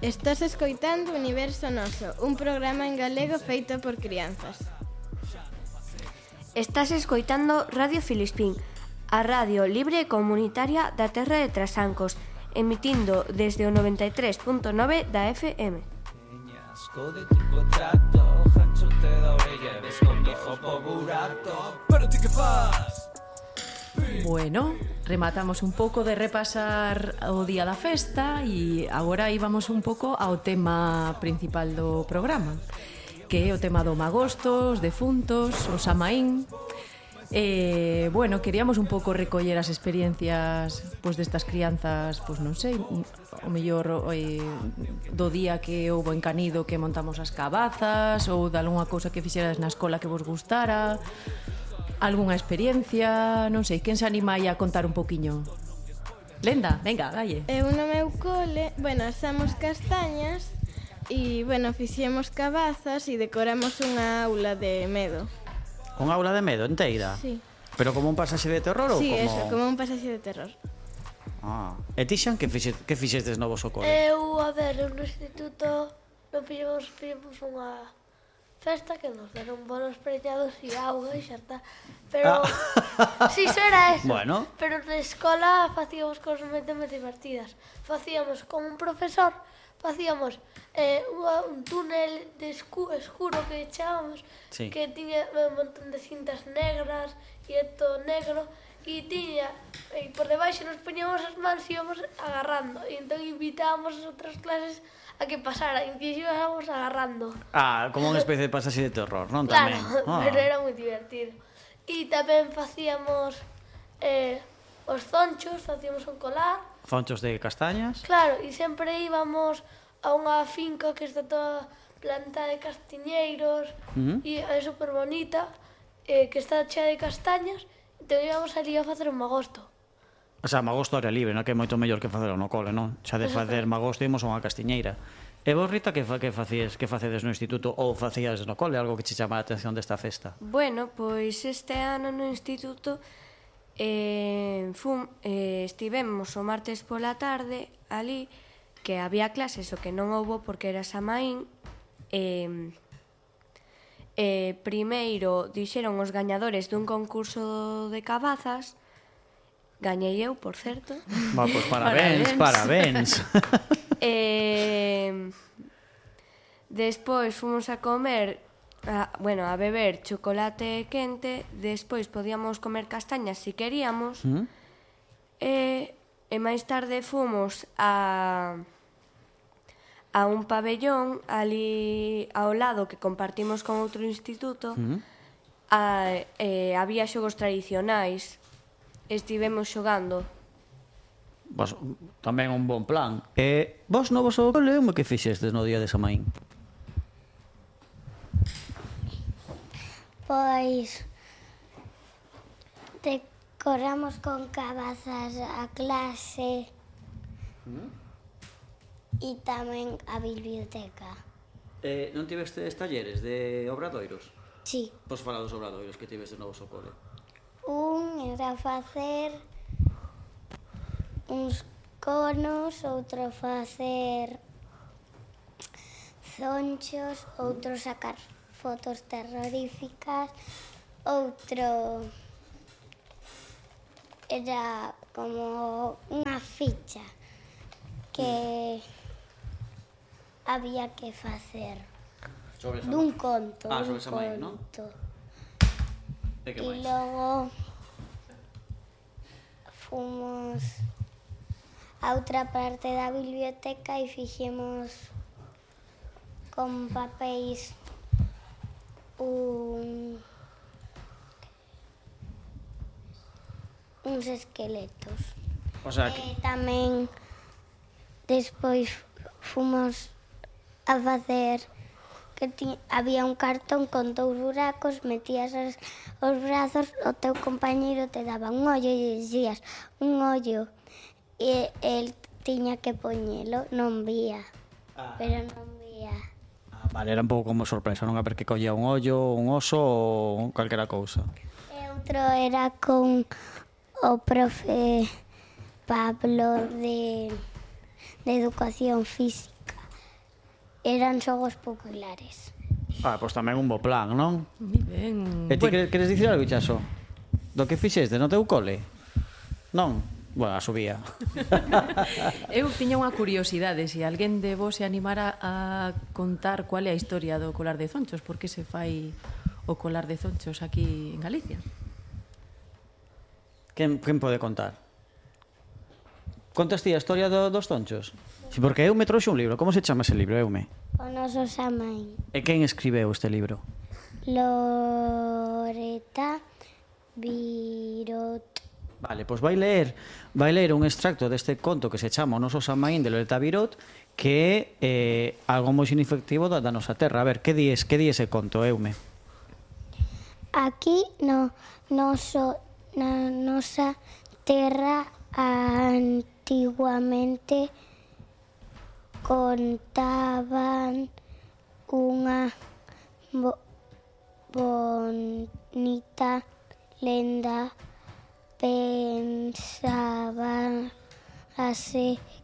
Estás escoitando Universo Noso, un programa en galego feito por crianzas. Estás escoitando Radio Filispín, a radio libre e comunitaria da terra de Trasancos, emitindo desde o 93.9 da FM. Bueno, rematamos un pouco de repasar o día da festa e agora íbamos un pouco ao tema principal do programa, que é o tema do magosto, os defuntos, o Samaín. Bueno, queríamos un pouco recoller as experiencias destas crianzas, non sei, o mellor do día que houbo en Canido que montamos as cabazas, ou de algunha cousa que fixeras na escola que vos gustara, algunha experiencia, non sei, quen se anima aí a contar un poquiño? Lenda, venga, dalle. Eu no meu cole, asamos castañas e, fixemos cabazas e decoramos unha aula de medo. Unha aula de medo enteira? Sí. Pero como un pasaxe de terror ou sí, como... Sí, eso, como un pasaxe de terror. E ti, Xan, que fixestes novos ao cole? Eu no instituto fixemos unha festa que nos deron bolos preñados e auga e xa está. Pero, si, iso era eso. Bueno. Pero na escola facíamos cosas moi divertidas. Facíamos con un profesor, facíamos un túnel de escuro que echábamos, sí, que tiña un montón de cintas negras e todo negro, e por debaixo nos poñíamos as mans e íbamos agarrando, e entón invitábamos as outras clases a que pasara, e que íbamos agarrando. Como unha especie de pasaxe de terror, non? Claro, Tamén. Pero era moi divertido. E tamén facíamos os zonchos, facíamos un colar. Zonchos de castañas. Claro, e sempre íbamos a unha finca que está toda planta de castiñeiros, e é super bonita, que está chea de castañas, e entón íbamos ali a facer un magosto. O sea, magosto área libre, non? Que é moito mellor que facelo no cole, non? Xa de facer magosto ímos a unha castiñeira. E vos, Rita, que facedes no instituto ou facías no cole? Algo que che chama a atención desta festa? Bueno, pois este ano no instituto estivemos o martes pola tarde ali, que había clases o que non houbo porque era Samaín. Primeiro dixeron os gañadores dun concurso de cabazas. Gañei eu, por certo. Pois parabéns. Despois fomos a comer, a beber chocolate quente. Despois podíamos comer castañas se queríamos. E máis tarde fomos a un pabellón ali ao lado que compartimos con outro instituto. Había xogos tradicionais. Estivemos xogando. Tamén un bon plan. Vos no vosso cole, como que fixestes no día de Samaín? Pois decoramos con cabazas a clase e tamén a biblioteca. Non tivestes talleres de obradoiros? Sí. Pois fala dos obradoiros que tivestes no vosso cole. Un era facer uns conos, outro facer zonchos, outro sacar fotos terroríficas, outro era como unha ficha que había que facer dun conto. Sobre Samaín, non? E logo fomos a outra parte da biblioteca e fixemos con papéis uns esqueletos. O sea, que... Tamén despois fomos a facer había un cartón con 2 buracos, metías os brazos, o teu compañeiro te daba un ollo e dixías un ollo e el tiña que poñelo, non vía, pero non vía. Vale, era un pouco como sorpresa, non? A ver que collía un ollo, un oso ou calquera cousa. E outro era con o profe Pablo de educación física. eran xogos populares. Pois tamén un bo plan, non? Moi ben. E ti queres dicir algo, Chaso? Do que fixeste no teu cole? Non? Bueno, a subía. Eu tiña unha curiosidade, se alguén de vos se animara a contar cual é a historia do colar de zonchos, por que se fai o colar de zonchos aquí en Galicia? Quen pode contar? Contas ti a historia dos zonchos? Si, porque eu me trouxe un libro. Como se chama ese libro, Eume? O noso Samaín. E quen escribeu este libro? Loreta Virot. Vale, pois vai ler un extracto deste conto que se chama O noso Samaín de Loreta Virot, que é algo moi significativo da nosa terra. A ver, que di ese conto, Eume? Aquí na nosa terra antiguamente contaban unha bonita lenda. Pensábase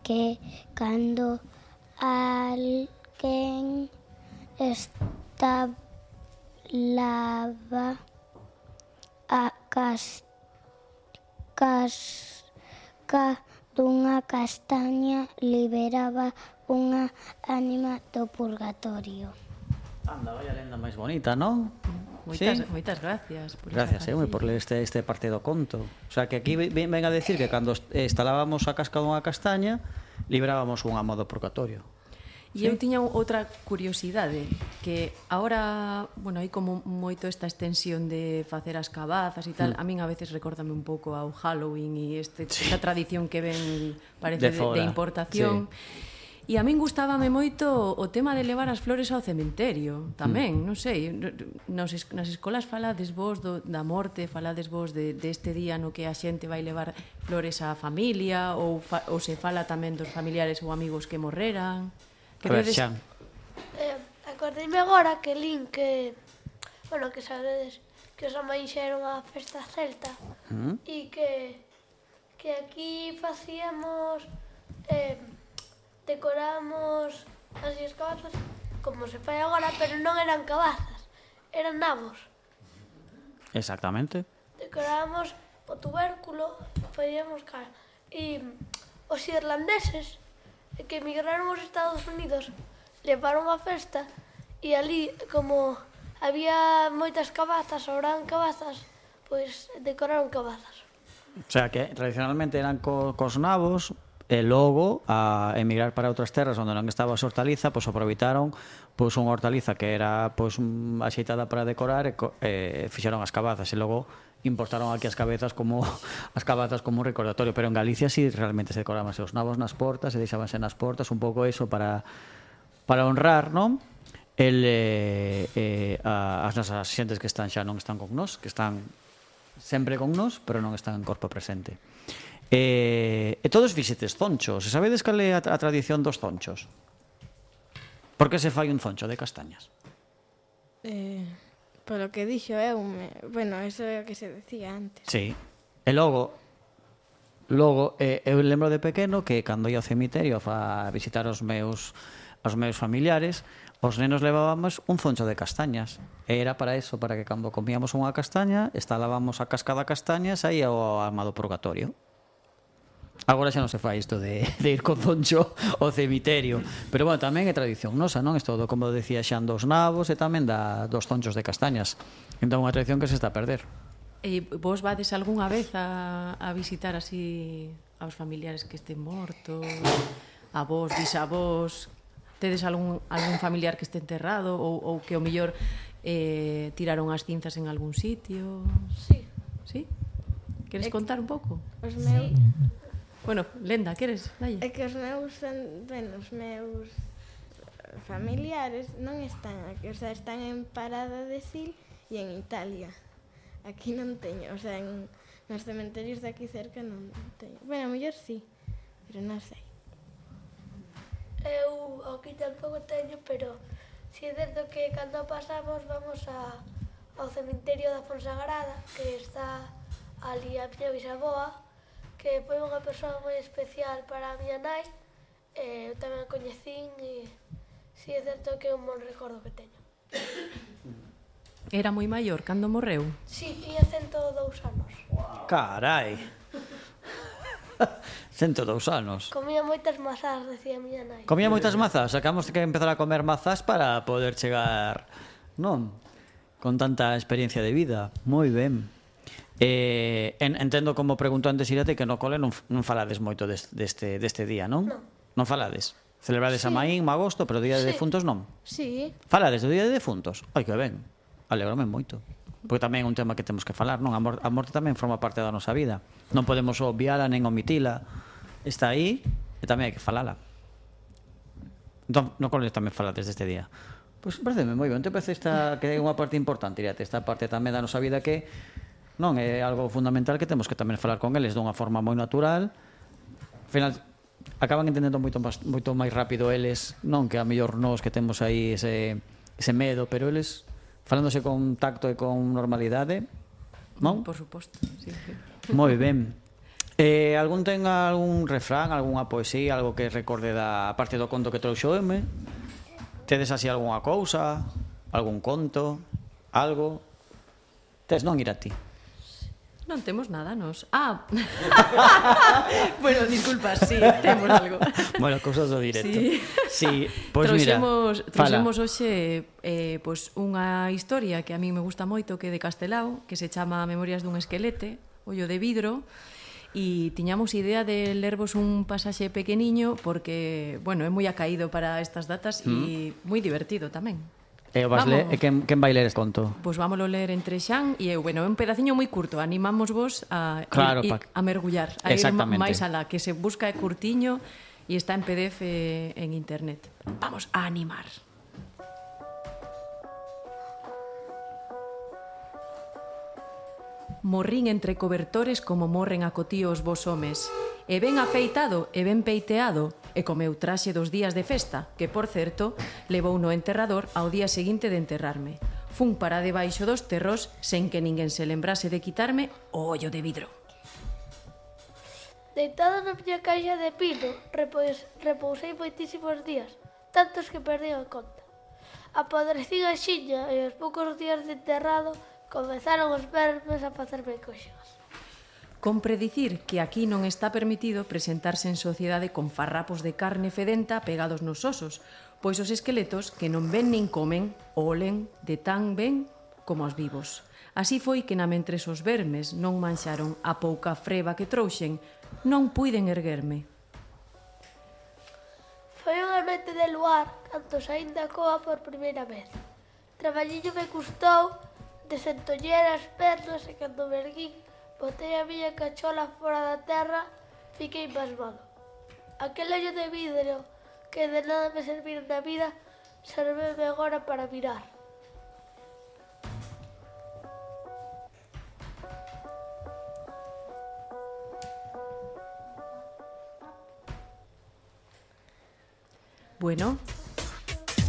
que cando alguén estalaba a casca dunha castaña, liberaba unha ánima do purgatorio. Anda, vai a lenda máis bonita, non? Moitas gracias. Gracias, Eume, por ler este parte do conto. O sea, que aquí ven a decir que cando instalábamos a casca dunha castaña, librábamos unha ánima do purgatorio. E eu tiña outra curiosidade, que agora, bueno, hai como moito esta extensión de facer as cabazas e tal, a min a veces recórdame un pouco ao Halloween e esta tradición que ven, parece, de importación. E a min gustábame moito o tema de levar as flores ao cementerio, tamén, non sei, nas escolas falades vos da morte, falades vos deste día no que a xente vai levar flores á familia, ou se fala tamén dos familiares ou amigos que morreran. A ver, Xan. Acordeime agora que lin que, bueno, que sabedes que os Samaín xa era unha festa celta e que aquí facíamos, decoramos así as cabazas como se fai agora, pero non eran cabazas, eran nabos. Exactamente. Decorábamos o tubérculo, facíamos cara. E os irlandeses que emigraron aos Estados Unidos levaron a festa e ali, como había moitas cabazas, sobraban cabazas, pois decoraron cabazas. O sea, que tradicionalmente eran cos nabos, e logo, a emigrar para outras terras onde non estaba a hortaliza, pois aproveitaron unha hortaliza que era axeitada para decorar e fixeron as cabazas, e logo importaron aquí as cabezas como un recordatorio, pero en Galicia sí realmente se decoraban os nabos nas portas, se deixabanse nas portas, un pouco eso para honrar, non? As nosas xentes que están xa non están con nós, que están sempre con nós, pero non están en corpo presente. E todos fixetes zonchos. E sabedes cal é a tradición dos zonchos? Por que se fai un zoncho de castañas? Polo que dixo Eume, bueno, eso é o que se decía antes. Sí. E logo eu lembro de pequeno que cando ia ao cemiterio a visitar os meus familiares, os nenos levábamos un zoncho de castañas. E era para eso, para que cando comíamos unha castaña, estalábamos a casca da castaña e saía o alma do purgatorio. Agora xa non se fai isto de ir con zoncho ao cemiterio. Pero, bueno, tamén é tradición nosa, non? Isto, como decía Xan, dos nabos e tamén dos zonchos de castañas. Entón, unha tradición que se está a perder. E vos vades algunha vez a visitar así aos familiares que estén mortos, avós, bisavós? Tedes algún familiar que este enterrado ou que o mellor tiraron as cinzas en algún sitio? Sí. Sí? Queres contar un pouco? Os meus... Bueno, Lenda, queres? Dalle. É que os meus familiares non están aquí, o sea, están en Parada de Sil e en Italia. Aquí non teño, o sea, nos cementerios de aquí cerca non teño. Bueno, a mellor sí, pero non sei. Eu aquí tampouco teño, pero si é certo que cando pasamos vamos ao cemiterio da Fonsagrada, que está ali a miña bisaboa, que foi unha persoa moi especial para a miña nai. Eu tamén a coñecín e Si é certo que é un bon recordo que teño. Era moi maior cando morreu? Si, tiña 102 anos. Carai. 102 anos. Comía moitas mazás, decía a miña nai. Comía moitas mazas, sacamos que empezar a comer mazas para poder chegar, non? Con tanta experiencia de vida. Moi ben. Entendo como pregunto antes Irate que no cole non falades moito deste día, non? Non falades. Celebrades a Maín, agosto, pero o día de defuntos non. Sí. Falades do día de defuntos? Ai, que ben. Alégrome moito. Porque tamén é un tema que temos que falar, non? A morte tamén forma parte da nosa vida. Non podemos obviala nen omitila. Está aí e tamén hai que falala. Entón, no cole tamén falades deste día. Pois pareceme moi ben. Te parece esta que é unha parte importante, Irate, esta parte tamén da nosa vida que non é algo fundamental que temos que tamén falar con eles dunha forma moi natural. Al final acaban entendendo moito máis rápido eles, non que a mellor nós que temos aí ese medo, pero eles falándose con tacto e con normalidade, non? Por suposto, sí. Moi ben. Algún ten algún refrán, algunha poesía, algo que recorde da parte do conto que trouxo M? Tedes así algunha cousa, algún conto, algo? Tes non ir a ti? Non temos nada, nos. Ah! Bueno, disculpa, sí, temos algo. Bueno, cousas do directo. Sí, pois mira, trouxemos hoxe pois unha historia que a mí me gusta moito, que é de Castelao, que se chama Memorias dun esquelete, ollo de vidro, e tiñamos idea de lervos un pasaxe pequeniño porque, bueno, é moi acaído para estas datas e moi divertido tamén. E quen vai ler este conto? Pois vámoslo ler entre Xan e eu. Bueno, é un pedaciño moi curto. Animamos vos a mergullar, a ir máis alá, que se busca é curtiño e está en PDF en internet. Vamos a animar. Morrín entre cobertores como morren a cotíos vos homes, e ben afeitado e ben peiteado, e co meu traxe dos días de festa, que, por certo, levou no enterrador ao día seguinte de enterrarme. Fun para debaixo dos terros sen que ninguén se lembrase de quitarme o ollo de vidro. Deitado na miña caixa de pino, repousei moitísimos días, tantos que perdí a conta. Apodrecín a xiña e aos poucos días de enterrado comezaron os vermes a facerme coxas. Compre dicir que aquí non está permitido presentarse en sociedade con farrapos de carne fedenta pegados nos osos, pois os esqueletos que non ven nin comen, olen de tan ben como os vivos. Así foi que namentres os vermes non manxaron a pouca freba que trouxen, non puiden erguerme. Foi unha noite de luar cando saín da coa por primeira vez. Traballiño me custou desentoller as pernas e cando me erguín, botei a miña cachola fora da terra, fiquei pasmado. Aquel ollo de vidro que de nada me servira na vida, serveme agora para mirar. Bueno,